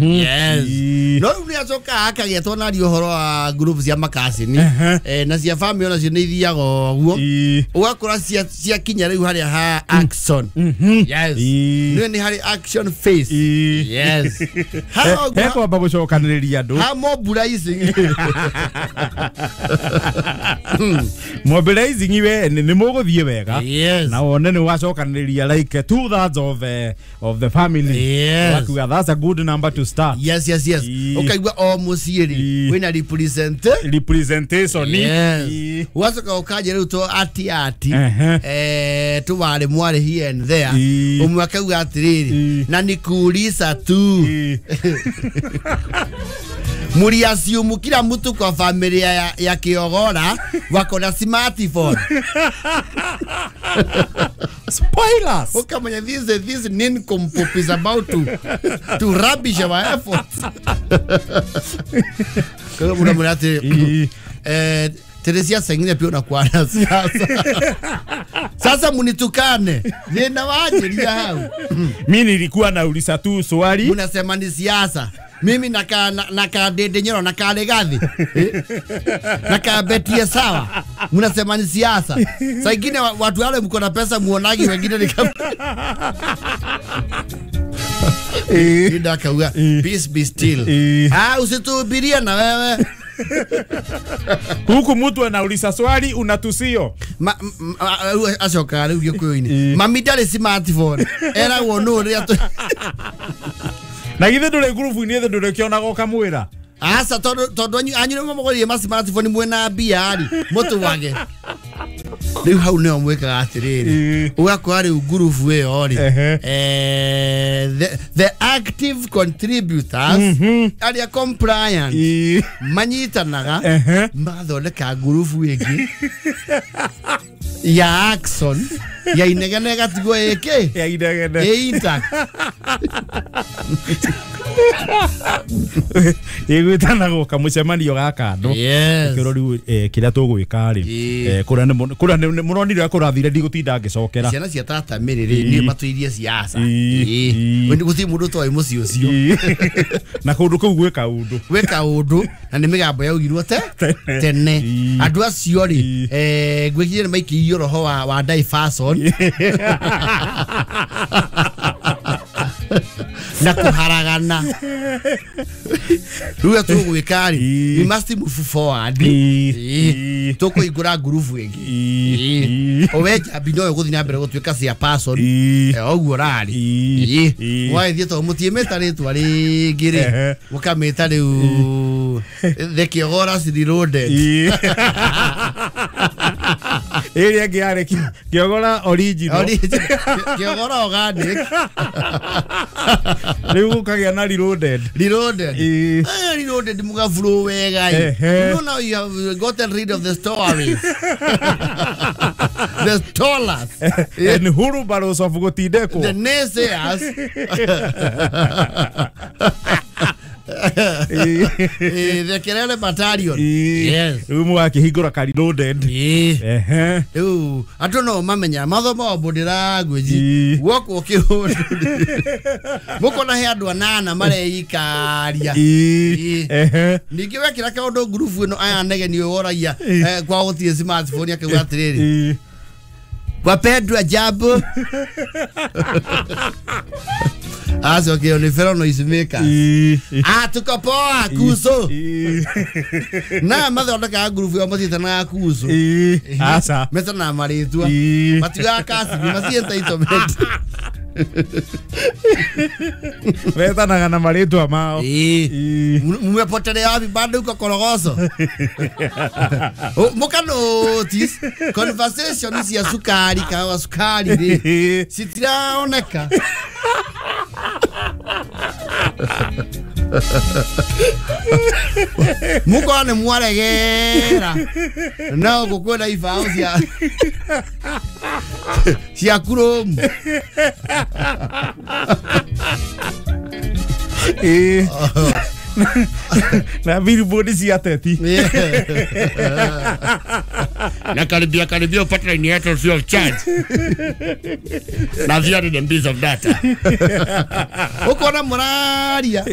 Yes. No rĩu nĩacoka akagĩetwo nario ũhoro wa group cia makacini na cia family onacio nĩ ithiaga ũguo ũgakora ciakinya rĩu harĩa ha action. Yes. Nĩ nĩ harĩ action face. Yes. Hekwamba gũcokanĩrĩria andũ. Ha mobilizing. Mobilizing we nĩ mũgũthiĩ wega. Yes. Na wone nĩ wacokanĩrĩria like 2/3 of the family. Yes. Wakiuga that's a good number to start. Yes, yes, yes. Ũkaigua o mũciĩ rĩ wĩna representation. Yes. Ũgacoka ũkanjia rĩu to ati ati tũwarĩ mwarĩ here and there. Ũmwe akauga atĩrĩrĩ na nikuuliza tu. Muriasiumu kila mtu kwa familia ya Kiogora wako na smartphone. Spoilers. Ukamanya this nincompoop is about to rubbish our efforts. Kwa hiyo mnamwambia Teresia sengine pia unakuwa na siasa. Sasa munitukane. Nina waje hao. Mimi nilikuwa nauliza tu swali. Unasema ni siasa. Mimi nakaa Dede Nyoro, nakaa Legathi. Nakaa Betie sawa. Mnasema ni siasa. Saa ingine watu wale mko na pesa muonagi wengine ni kama Nida kauga peace be still. Ah, usituhubirie na wewe. Huku mtu anauliza swali unatusio. Acoka rĩu Gĩkũyũ-inĩ. Mami ndarĩ smartphone. Eragwo nũ rĩrĩa na githĩ ndũrĩ ngurubu-inĩ thĩ ndũrĩkĩonaga ũkamwĩra. Aca tondũ anyu nĩmo mũgũrire ma smartphone mwĩna mbia rĩ mũtwage. Rĩu hau nĩho mwĩkaga atĩrĩrĩ ũgakora rĩu ngurubu ĩyo rĩ the active contributors arĩa compliant manyitanaga magathondeka ngurubu ĩngĩ ya action ya inegene ĩgatigwo ĩkĩ ya inegene ĩ intact. Ĩgwĩtanagwo kamũcemanio ga kando. Kĩro rĩu kĩrĩa tũgwĩka rĩ kũrĩa mũronire ũrĩa kũrathire ndigũtinda ngĩcokera. Ciana cia tata Mary rĩ nĩ matũirie siasa. Gũtirĩ mũndũ ũtoĩ mũciĩ ũcio. Na kũndũ kũu gwĩ kaũndũ. Gwĩ kaũndũ na nĩ mĩgambo yaugirwo tene. Andũ acio rĩ ngwĩciria nĩ maikĩirio roho wa diversion na kuharagana. Rĩu tũgwĩka rĩ we must move forward. Tũkũhingũra ngurubu ĩngĩ. Owe njambi no ĩgũthiĩ na mbere gũtuĩka cia person ũguo rarĩ. Wagĩthiĩ tondũ mũtiĩmĩta rĩtwa rĩngĩ rĩ mũkamĩta rĩu the Kiogora Reloaded. Ĩrĩa ĩngĩ yarĩ Kiogora original. Kiogora organic. Rĩu gũkagĩa na reloaded. Reloaded. Reloaded mũgaburo wega. You know now you have gotten rid of the stories. The stallers. And wheelbarrows of gũtindĩkwo. The naysayers. The Kelele Battalion. Yes. Rĩu mũgakĩhingũra ka reloaded. Rĩu andũ no mamenya mathomo body language gwokwo kĩũndũ. Mũkona he andũ anana mareikaria. Ningĩ wekĩra kaũndũ ngurubu ĩno aya nege nĩ woragia kwa gũtirĩ smartphone akauga atĩrĩrĩ wapendwa jambo. Aco ni fellow noise makers. Ah, tuko poa kuzo. Na mathondekaga ngurubu ĩyo matiĩtanaga kuzo. Aca. Metanaga marĩtwa. Matiugaga kasi, maci entitlement. Metanaga na marĩtwa mao. Mumepotelea wapi bado uko Korogoco? Muka notice conversation cia cukari kawa cukari rĩ citiraoneka. Muko nĩ mwaregera no gũkwĩna ibaũ cia kuromu. Na billboard cia ateti. Na karibia karibia upate line yetu free of charge. Na 300 MB of data. Ukona muraria.